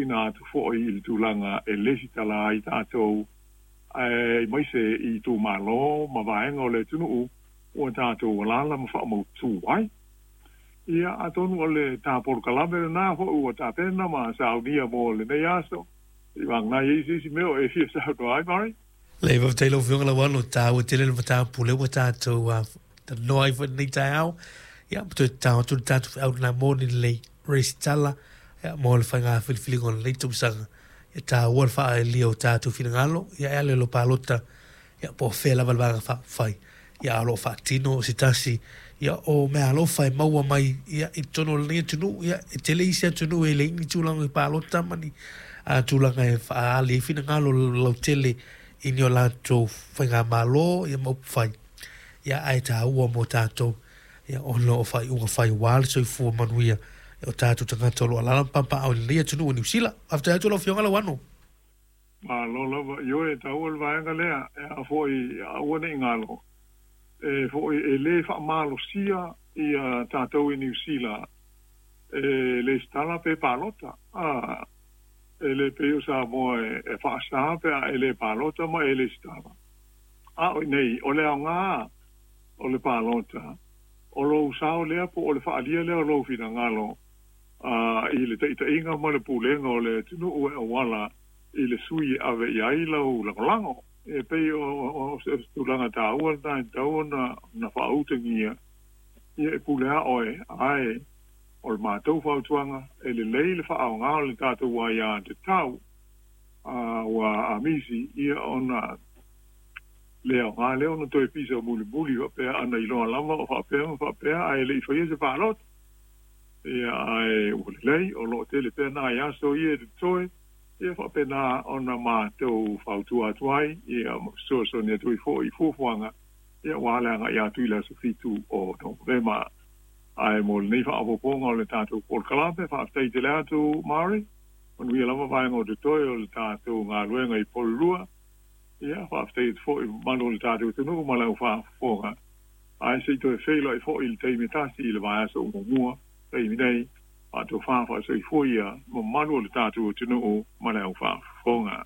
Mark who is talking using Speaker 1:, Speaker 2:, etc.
Speaker 1: tuuina atu fo'i i le tulaga e lesitala ai tatou aemaise i itumalo ma vaega o le atunuu ua tatou alaala ma faamautū ai. Ia, atonu o le ta polokalame lena fo'i ua tapena ma saunia mo lenei aso, seiavagana e i ai se isi mea o e fia saunoa ai, Murray?
Speaker 2: Leai, faafetai lau Afioga Lauano, taua tele le mataupu lea ua tatou talanoa ai foi i lenei taeao. Ia, ma toe tatao atu le tatou feau lena mo ni lelei resitala ia, mo le faiga filifiliga o lenei tausaga. Ia taua le faaelia o tatou finagalo, ia e ala i lo palota, ia po o fea lava le Vaega Faaupufai, ia a o lo o faatino se tasi ia o meaalofa e maua mai ia i totonu o lenei atunuu. Ia e tele isi atunuu e leai ni tulaga i palota ma ni tulaga e faaali ai finagalo lautele i ni o latou faigamalo ia ma upufai. Ia ae taua mo tatou ia ona o faaiuga fai aua le soifua manuia o tatou tagata o lo o alaala ma papaaao i lenei atunuu o Niu Sila. Faafetai atu lau Afioga Lauano.
Speaker 1: Malo lava. Ioe, e taua le vaega lea, e a foi, aua ne i galo, e foi, e le faamalosia ia tatou i Niu Sila e lesitala pe palota. A, e le pei o Samoa e faasa pe a e le palota ma e lesitala. A o i nei, o le aoga o le palota, o lou sao lea po o le faaalia lea o lou finagalo i le taitaiga ma le pulega o le atunuu e auala i le sui e ave i ai lau lagolago. E pei o se tulaga taua lena e tatau ona faautagia, ia e pule lava oe, ae o le matou fautuaga, e lelei le faaaoga o le tatou aiatatau ua amisi ia ona le aoga lea ona toe pisa mulimuli faapea ana iloa lava o faapea ma faapea ae le i faia se palota. Ia ae ua lelei o lo o tele pea nai aso ia e totoe, ia faapena ona matou fautua atu ai ia ma fesoasoani atu ai foi i fuafuaga ia aua le agai atu i le aso 7 o Novema. Ae mo lenei faaopoopoga o le tatou polokalame, faafetai tele atu Murray, manuia lava vaega o totoe o le tatou galuega i Porirua. Ia, faafetai atu foi i mamalu o le tatou atunuu ma lau faafofoga. Ae se i toe feiloai foi i le taimi e tasi i le vaiaso muamua, taimi nei, faatofa faasoifua ia mamalu o le tatou atunuu ma le au faafofoga.